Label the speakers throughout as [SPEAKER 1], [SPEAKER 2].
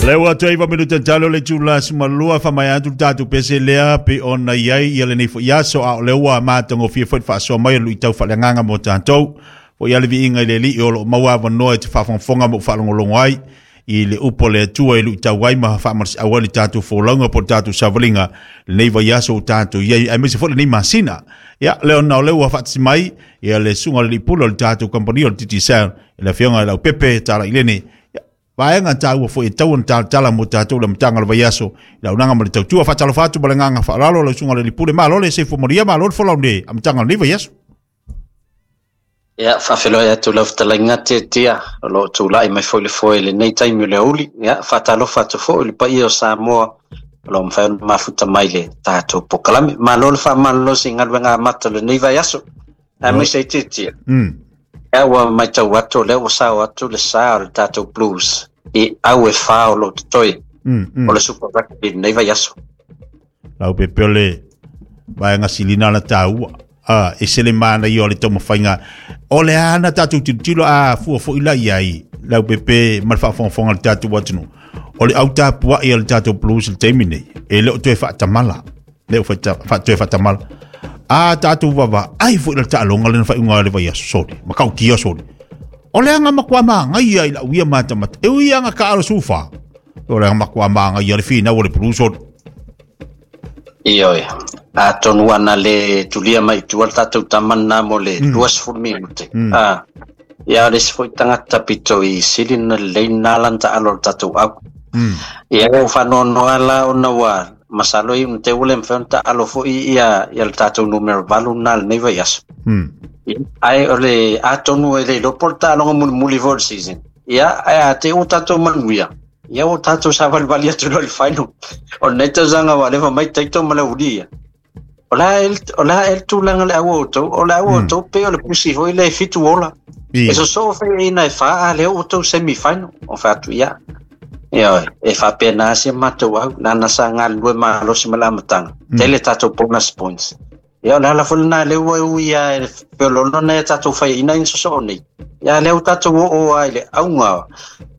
[SPEAKER 1] Le ua toe 9 minute talo le itula 12 faamaea atu le tatou pese lea pei ona i ai ia lenei foi aso, a o lea ua matagofie foi le faasoa mai o le luitau faaleagaga mo tatou. Foi ale viiga i le Alii o loo maua avanoa e te faafogafoga ma ou faalogologo ai i le upu a le Atua e luitau ai ma faamalosiau ai le tatou folauga po o le tatou savaliga lenei vaiaso ua tatou i ai, aemaise foi lenei masina. Ia, lea ona o lea ua faatasi mai ia le susuga i le alii pule o le tatou kamupani o le Digicel, le afioga i Leaupepe Talailene. Ia, vaega taua foi e tau ona talatala mo tatou le amataga o le vaiaso i le auaunaga ma le tautua. Faatalofa atu ma le agaga faaaloalo lau susuga i le alii pule. Malo le soifua manuia, malo le folau i le amataga o lenei vaiaso.
[SPEAKER 2] Ia, faafeiloai atu lau fetalaiga Tiatia, o lo o tulai mai foi le foe i lenei taimi o le aoauli. Ia, faatalofa atu foi i le paia o Samoa o lo o mafai ona mafuta mai le tatou polokalame. Malo le faamalolosi i galuega amata o lenei vaiaso. Aemaise ai Tiatia. Ia, ua matau atu o lea ua sao atu le sa o le tatou Blues i au e 4 o lo o totoe o le Super Rugby i lenei vaiaso.
[SPEAKER 1] Leaupepe o le vaega silina la taua. A, e se le manaia o le taumafaiga. O le a na tatou tilotilo a fua foi la i ai, Leaupepe ma le faafogafoga a le tatou atunuu. O le au tapuai a le tatou Blues i le taimi nei, e le o toe faatamala. Le o toe faatamala. A tatou vaavaai foi i le taaloga lena faaiuga o le vaiaso soli, ma kautia soli. O le aga matua magaia i lau ia matamata. E ui aga ka alo sufa. O le aga matua magaia le finau o le Blues soli.
[SPEAKER 2] Ioe, atonu ana le tulia mai i tua le tatou tama lena mo le 20 minute. Ah, ia o le isi foi tagata pito i sili ona lelei lena la na taalo o le tatou au. Ia ua faanoanoa la ona ua masalo i te ua le mafai ona taalo foi ia ia le tatou numera 8 lena lenei vaiaso. Ia, ae o le atonu e le iloa po o le taaloga mulimuli foi o le season. Ia, ae a te ua tatou manuia, ia ua tatou savalivali atu loa i le final. O lenei tausaga ua leva mai taito ma le uli ia. O le a o le a le tulaga le au o outou, o le au o outou pei o le pusi foi le 7 ola. E sosoo faiaina e 4 a lea ua outou semi final. O fai atu ia. Ia, e faapena se matou au, nana sa galulue malosi ma le amataga. Tele tatou bonus points. Ia, o le ala foi lena lea ua ui a e feoloolo nai a tatou faiaina ina sosoo nei. Ia, lea ua tatou oo a i le auga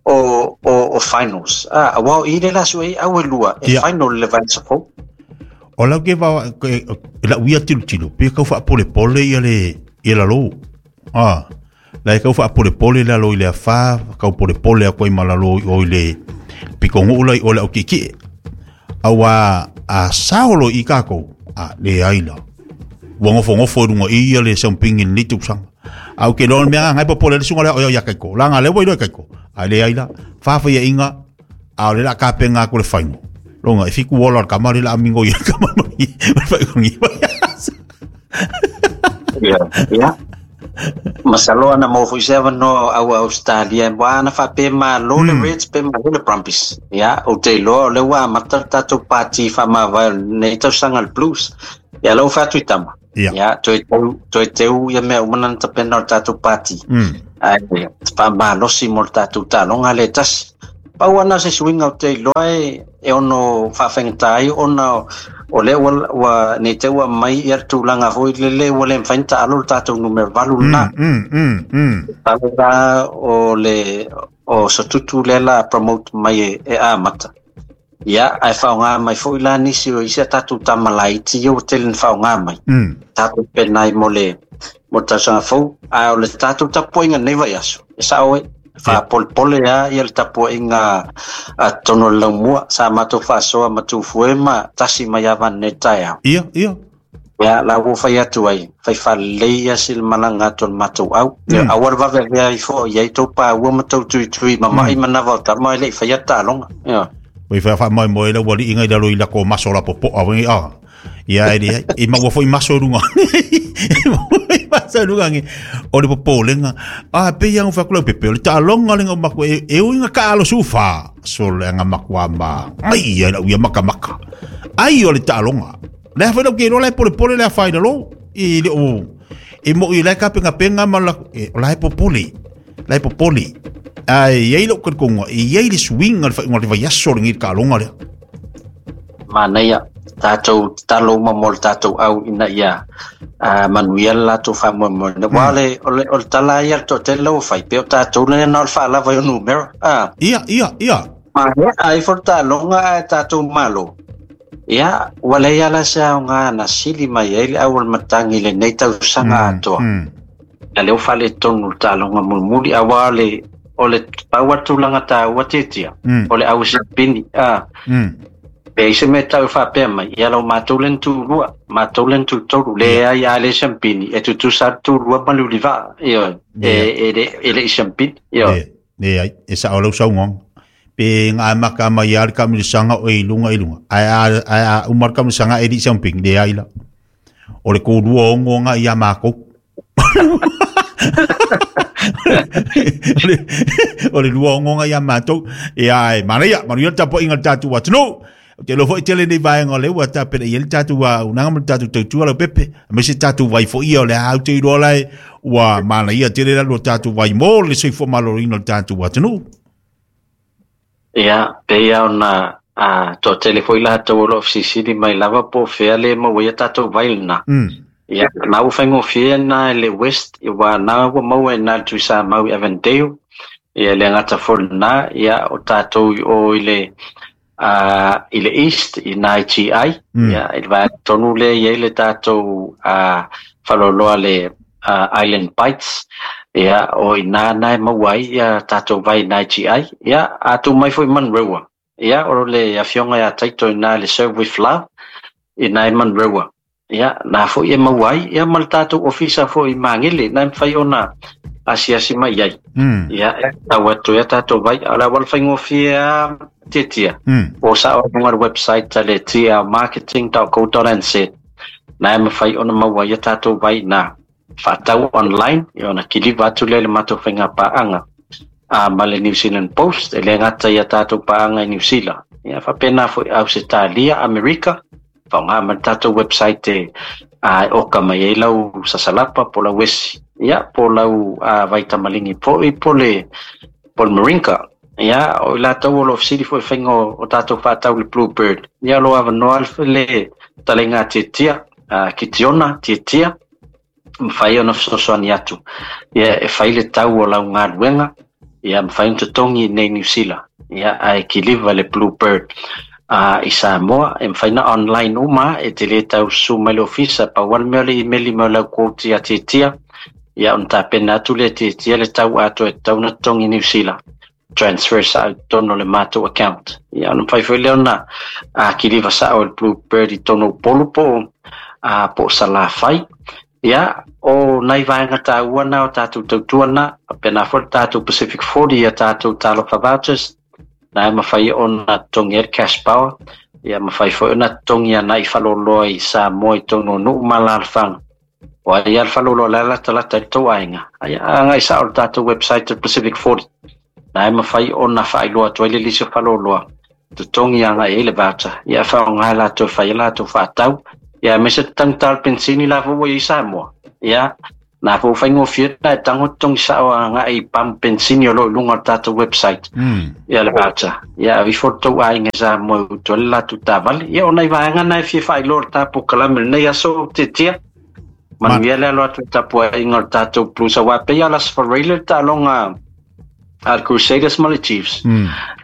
[SPEAKER 2] o finals. Ah, aua o i le la sue au e lua, e final le vaiaso fou.
[SPEAKER 1] O lau ke va lau ia tilotilo, pe kau faapolepole ia le ia lalo. Ah, la e kau faapolepole lalo i le afa, kau polepole a koe ma lalo i o i le pikonuu la i o le au kiekie. Auā a sao loa i kākou, a leai la. Ua gofogofo i luga i ia le sampingi i lenei tausaga. A ou te iloa o le mea lena e popole ai le susuga lea o ia Kaiko. Leaga lea ua iloa e Kaiko. Ae leai la, 4 faiaiga, a o lea o le a tapena atu le final. Loga e 7 ola o le tama lea o le a mingo i le tama ma le faaiuga.
[SPEAKER 2] Ia. Masalo ana maua foi se avanoa au Australia ua ana faapea malo le Reds pe malo le Brumbies. Ia, ou te iloa o lea ua amata le tatou pati faamavae o lenei tausaga le Blues. Ia, lau fai atu i tama. Ia, toe teu, toe teu ia mea uma na tapena o le tatou pati. Ae faamalosi mo le tatou taaloga lea e tasi. Pau ana se suiga ou te iloa e ono faafaigata ai ona o lea ua nei te ua mai ia le tulaga foi lele ua le mafai ona taalo le tatou numera 8 lena. Talo la o le o Sotutu lea la promote mai e amata. Ia, ae faaaoga mai foi la nisi o isi a tatou tama laiti ia ua tele na faaaoga mai. Tatou penai mo le tausaga fou. Ae o le tatou tapuaiga nei vaiaso, e sao e faapolepole lava ia le tapuaiga a totonu o le laumua. Sa matou faasoa ma Tufue ma tasi mai lava nei taeao.
[SPEAKER 1] Ia, ia.
[SPEAKER 2] Ia, la ua fai atu ai, fai faalelei ia si le malaga atu o le matou au. Aua le vaveavea ifo i ai tou paua ma tou tuitui ma mai manava o tama e le i faia taaloga. Ia.
[SPEAKER 1] Oi fa fa mai mo le ua liiga i lalo i lako maso la popoa wai a. Ia e le e maua foi maso i luga. Maso i luga ngi. O le popolenga. A pe ia fa kula pepe o le taaloga lenga o maku e uiga ka alo sufa. So le anga makua ma. Ai ia lau ia maka maka. Ai o le taaloga. Le fa lau ke le pole pole le fa i lalo. I le o e mo i le ka penga penga ma la e, o la e popole. La e popole. Ai ai lau konga e ai le swing le fa le vaiaso le ngi taaloga lea.
[SPEAKER 2] Manaia, tatou tatalo uma mo le tatou au ina ia manuia le latou faamoemoe. Aua o le tala ia le toatele ua fai, pe o tatou lea na o le faalava i o numera.
[SPEAKER 1] Ia, ia, ia.
[SPEAKER 2] Maea ifo le taaloga ae tatou malo. Ia, ua leai lava la se aoga na sili mai ai le au o le matagi i lenei tausaga atoa. Ia lea ua faaletonu le taaloga mulimuli, aua o le, o le pau lava le tulaga taua Tiatia, o le au siapini. A, pe ai se mea e tau e faapea mai, ia lau matou lea na tulua, matou lea na tutolu. Leai, a le siampini, e tutusa lava le tulua ma le ulivaa, ioe, e, e, e le i siampini, ioe.
[SPEAKER 1] Leai, e sao lau saunoaga. Pe na amata mai lava le taamilosaga o e i luga i luga, ae a, ae a uma le taamilosaga e le i siampini, leai la. O le tulua ono na ia matou. O le 26 na ia matou. Ia, e manaia, manuia le tapuaiga a le tatou atunuu. Ou te iloa foi tele nei vaega o lea ua tapena i ai le tatou auaunaga ma le tatou tautua lau pepe. Aemaise tatou vai foi ia o lea ou te iloa la e ua manaia tele la lo tatou vai mo le soifua maloloina o le tatou atunuu.
[SPEAKER 2] Ia, pei lava ona toatele foi latou o lo o fesilisili mai lava po o fea le maua ai a tatou vai lena. Ia, na ua faigofie na i le West, aua na ua maua i ina i le Tuisamau i Avondale. Ia, e le gata foi i lena, ia, o tatou i o i le i le East i ina i GI, ia, i le vaega tonu lea e i ai le tatou faleoloa le Island Bites, ia, o i ina na e maua ai ia tatou vai i ina i GI. Ia, a tuu mai foi i Manurewa, ia, o le afioga ia Taito i ina i le Serve with Love, i ina i Manurewa. Ia, na foi e maua ai, ia ma le tatou ofisa foi i Magele, na e mafai ona asiasi mai i ai. Ia, e tau atu ai a tatou vai, a o le auala faigofie lava Tiatia, o sao i luga o le website a le tlmarketing.co.nz, na e mafai ona maua ai a tatou vai na faatau online, ia ona kiliva atu lea i le matou faigapaaga ma le New Zealand Post, e le gata i a tatou paaga i Niu Sila, ia faapena foi Ausetalia, Amerika, Faaaoga mai le tatou website e oka mai ai lau sasalapa po o lau esi, ia, po o lau vaitamaligi foi po o le moringa. Ia, o i latou o lo o fesili foi i faiga o tatou faatau i le Bluebird. Ia, o lo o avanoa le fetalaiga a Tiatia, Kitiona Tiatia, mafai ona fesoasoani atu. Ia, e fai le tau o lau galuega, ia, mafai ona totogi i inei i Niu Sila, ia, ae kiliva le Bluebird i Samoa, e mafai ona online uma, e te le tau susu mai le ofisa, pau lava le mea o le imeli mai o lau quote ia Tiatia, ia, ona tapena atu lea e Tiatia le tau atoa e tatau ona totogi i Niu Sila. Transfer sao i totonu o le matou account. Ia, ona mafai foi lea ona kiliva sao e le Bluebird i totonu o Upolu po o po o Salafai. Ia, o nai vaega taua na o tatou tautua na, faapena foi le tatou Pacific 40 ia tatou Talofa Vouchers, na e mafai ona totogi ai le cash power, ia mafai foi ona totogi agai faleoloa i Samoa i totonu o nuu ma alaalafaga. O ai lava le faleoloa o la e latalata i le tou aiga, ia agai sao i le tatou website o le Pacific 40. Na e mafai ona faailoa atu ai le lisi o faleoloa, totogi agai ai le voucher, ia e faaaoga e latou e fai ai latou faatau, ia aemaise le taugata o le penisini la foi ua i ai Samoa. Ia, na foi ua faigofie ona e tago totogi sao agai i pamu penisini o lo o i luga o le tatou website. Ia le voucher. Ia ave ifo le tou aiga i Samoa e utu ai le latou taavale. Ia o nai vaega na e fia faailoa i le ta polokalame i lenei aso Tiatia. Manuia le alo atu i le tapuaiga o le tatou Blues aua e pei lava o le Aso Faraile le taaloga a le Crusaders ma le Chiefs.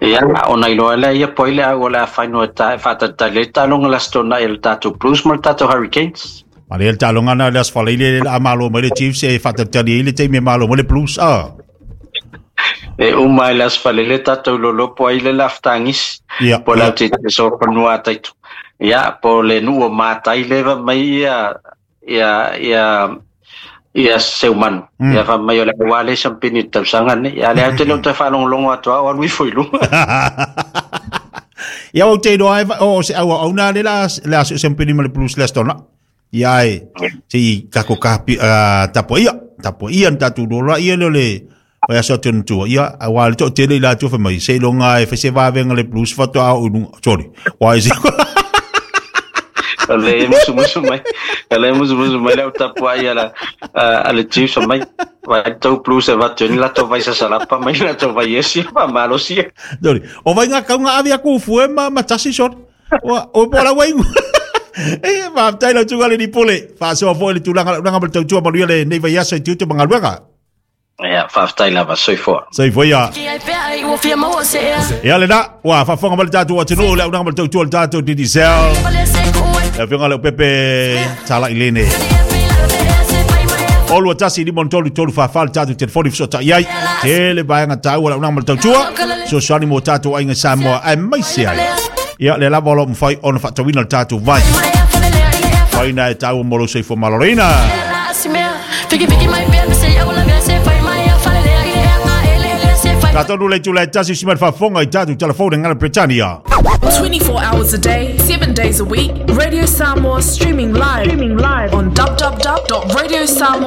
[SPEAKER 2] Ia ona iloa lea ia po ai le au o le a final e ta e faatalitali ai le taaloga i le Aso Toonai a le tatou Blues ma le tatou Hurricanes.
[SPEAKER 1] Ma le taaloga na le Aso Faraile le a malo mai le Chiefs e faatalitali ai le taimi e malo mai le Blues. Ah.
[SPEAKER 2] E uma ai le Aso Faraile tatou lolopo ai le lafutagisi.
[SPEAKER 1] Ia,
[SPEAKER 2] Po o le au te so fanua a Taito. Ia, po o le nuu o Mātai leva mai ia ia ia ia Seumanu. Ia fai mai o le aua le sampini i le tausaga nei. Ia lea ou te le o toe faalogologo atu a o alu ifo i luga.
[SPEAKER 1] Ia ou te iloa e o se au auna le la le aso sampini ma le Blues le Aso Toonai. Ia e se i kako kapi tapuaia, tapuaia na tatou lola ia le o le o aso atu na tua. Ia aua le toatele i latou fai mai seiloga e fai se vavenga le Blues faatoa oo i luga. Sorry. Why is it?
[SPEAKER 2] O le musumusu mai, o le musumusu mai le au tapuai a la a le Chiefs mai. Vai tau Blues e vatu ni latou vai sasalapa mai latou vai esi pa malosi.
[SPEAKER 1] Sorry. O vai ngā kaunga ave aku fue ma ma tasi sorry. Ua, o po la wai. E, faafetai lau tuga le ni pole. Faasoa foi le tulaga lau ma le tautua manuia lenei vaiaso i tiute ma galuega.
[SPEAKER 2] Ia, faafetai lava, soifua.
[SPEAKER 1] Soifua ia. Ia lena, ua faafofoga mai le tatou atunuu, le auaunaga ma le tautua le tatou Digicel. Le afioga Leaupepe Talai Lene. O 21 5 3 3 4 4 le tatou telefoni fesootai ai. Tele vaega taua le auaunaga ma le tautua. Fesoasoani mo tatou aiga Samoa aemaise ai. Ia, lea lava o lo o mafai ona faatauina le tatou vai. Vai na e taua mo lou soifua maloloina. Tatou le itula e tasi si mai faafofoga i tatou telefoni ngana Britannia.
[SPEAKER 3] 24 hours a day, 7 days a week, Radio Samoa streaming live on www.radiosamoa.